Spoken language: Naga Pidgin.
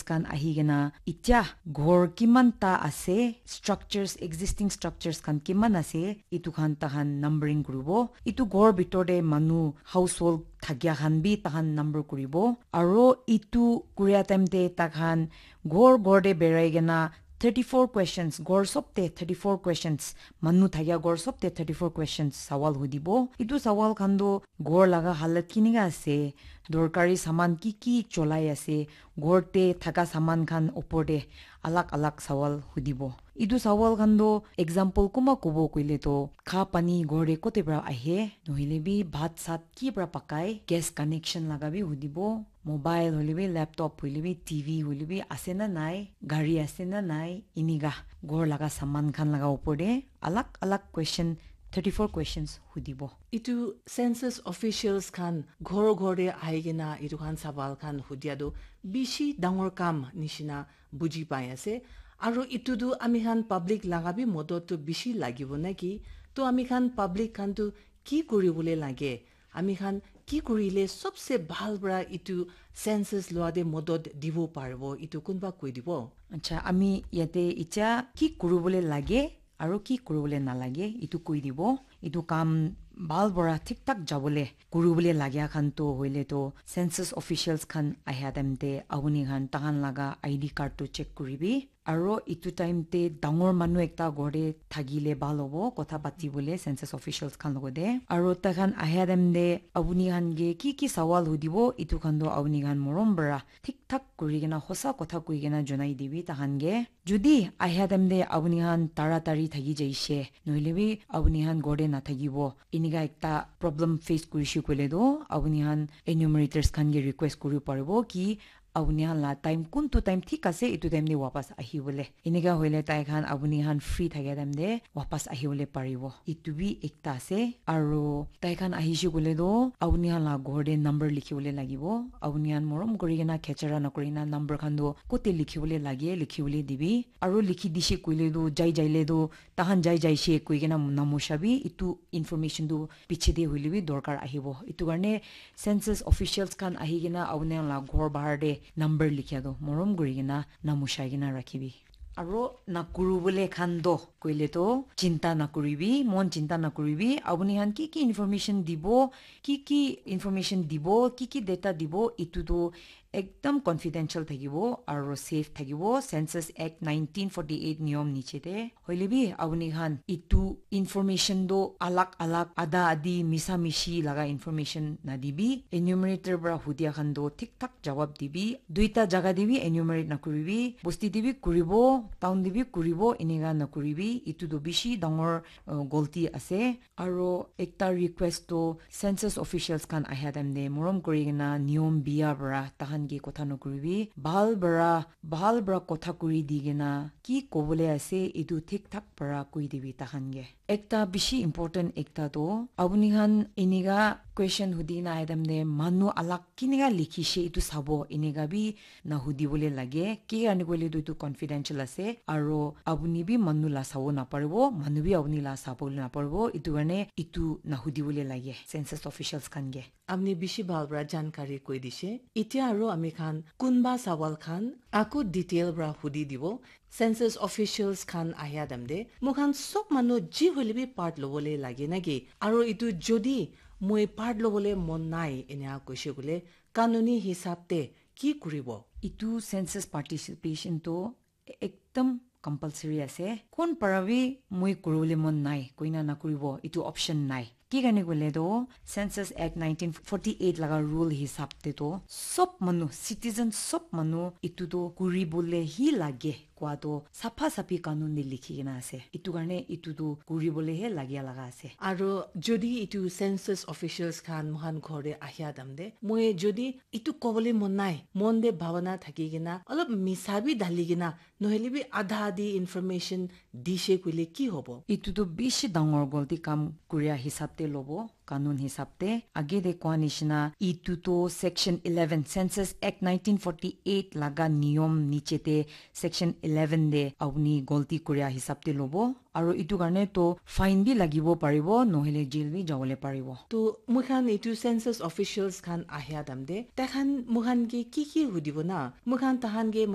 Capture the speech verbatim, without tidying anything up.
khan ahi kena itya ghor kiman ta ase, structures, existing structures khan kiman ase, itu khan tahan numbering kuribo. Itu ghor bitor te manu, household thakia khan bi tahan number kuribo. Aro itu kuria time te takhan ghor ghor te berai kena thirty-four questions, ghor sob te thirty-four questions, manu thakia ghor sob te thirty-four questions sawal hudibo. Itu sawal khan toh ghor laga halat kinika ase, dorkari saman ki ki cholai ase, ghor te thaka saman khan opor te alag alag sawal hudibo. Itu sawal khan toh example kunba kobo koile toh kha pani ghor te kote pra ahe, nohoile bi bhat sat ki pra pakai, gas connection laga bi hudibo, mobile hoile bi, laptop hoile bi, T V hoile bi ase na nai, gari ase na nai, inika ghor laga saman khan laga opor te alag alag question, thirty-four questions hudibo. Itu census officials khan ghor ghor te ahi kena itu khan sawal khan hudia tu bishi dangor kam nishina buji pai ase. Aro itu tu ami khan public laga bi modot tu bishi lagibo naki? To ami khan public khan tu ki kuribole lage? Ami khan ki kurile sobse bhal pra itu census loa te modot dibo paribo? Itu kunba koi dibo? Acha, ami yate icha ki kuribole lage aro ki kuribole nalage, itu koi dibo. Itu kam bhal pra thik thak jabole kuribole lagya khan to hoile to census officials khan ahya time te apuni khan tahan laga I D card to check kuribi. Aro itu time te dangor manu ekta ghor te thakile bhal hobo, kotha patibole census officials khan logote. Aro taikhan ahya time te apuni khan ke ki ki sawal hudibo, itu khan to apuni khan morom pra thik thak kuri kena, hosa kotha koi kena jonai dibi tahan ke. Jodi ahya time te apuni khan taratari thaki jaishe, nohoile bi apuni khan ghor te nathakibo, inika ekta problem face kurishe koile to, apuni khan enumerators khan ke request kuri paribo ki apuni khan la time kuntu time thik ase, itu time te wapas ahibole. Inika hoile tai khan apuni khan free thakia time te wapas ahibole paribo. Itu bi ekta ase. Aro tai khan ahishe koile to apuni khan la ghor te number likhibole lagibo. Apuni khan morom kuri kena khechara nakuri kena number khan to kote likhibole lage, likhibole dibi. Aro likhi dishe koile to jai jaile to tahan jai jaishe koi kena namusha bi itu information tu piche te hoile bi dorkar ahibo. Itu karne census officials khan ahi kena apuni khan la ghor bahar te number likhia tu morom kuri kena namushai kena rakhibi. Aro nakuribole khan to koile to chinta nakuribi, mon chinta nakuribi. Apuni khan ki ki information dibo, ki ki information dibo, ki ki data dibo, itu tu ekdam confidential thakibo aro safe thakibo, Census Act nineteen forty-eight niyom niche te. Hoile bi apuni khan itu information to alag alag, ada adi, misa mishi laga information nadibi. Enumerator pra hudia khan to thik thak jawab dibi. Duita jaga te bi enumerate nakuribi. Bosti te bi kuribo, town te bi kuribo, enika nakuribi. Itu to bishi dangor, uh, golti ase. Aro ekta request to census officials khan ahya time te morom kuri kena niyom biya para tahan ke kotha nokuribi. Bhal para, bhal para kotha kuri di kena ki kobole ase etu thik thak para koi dibi tahan ke. Ekta bishi important ekta to apuni khan enika question hudi kena ahya time te manu alak kinika likhishe etu sabo enika bi nahudi bole lage. Ki karne koile tu etu confidential ase. Aro apuni bi manu la sabo naparibo, manu bi apuni la sabo naparibo. Etu karne etu nahudi bole lage census officials khan ke. Apuni bishi bhal para jankari koi dishe. Itya aro ami khan kunba sawal khan aku detail para hudi dibo. Census officials khan ahya time te, moikhan sob manu ji hoile bi part lobole lage naki? Aro etu jodi moi part lobole mon nai enia koishe koile, kanuni hisab te ki kuribo? Etu census participation to ekdam compulsory ase. Kon para bi moi kuribole mon nai koina nakuribo, etu option nai. Ki karne koile to Census Act nineteen forty-eight laga rule hisab te to sob manu, citizen sob manu etu to kuribole hi lage koa to sapha saphi kanun te likhi kena ase. Etu karne etu to kuribole he lagia laga ase. Aro jodi etu census officials khan moikhan ghor te ahya time te, moi jodi etu kobole mon nai, mon te bhabana thaki kena, olop misa bi dali kena, nohoile bi adha adi information dishe koile ki hobo? Etu to bishi dangor golti kam kuria hisab te lobo, kanun hisab te. Age te koa nishina, etu to section eleven, Census Act nineteen forty-eight laga niyom niche te section eleven te apuni golti kuria hisab te lobo. Aro etu karne to fine bi lagibo paribo, nohoile jail bi jabole paribo. To moikhan etu census officials khan ahya time te, tai khan moikhan ke ki ki hudibo na? Moikhan tahan ke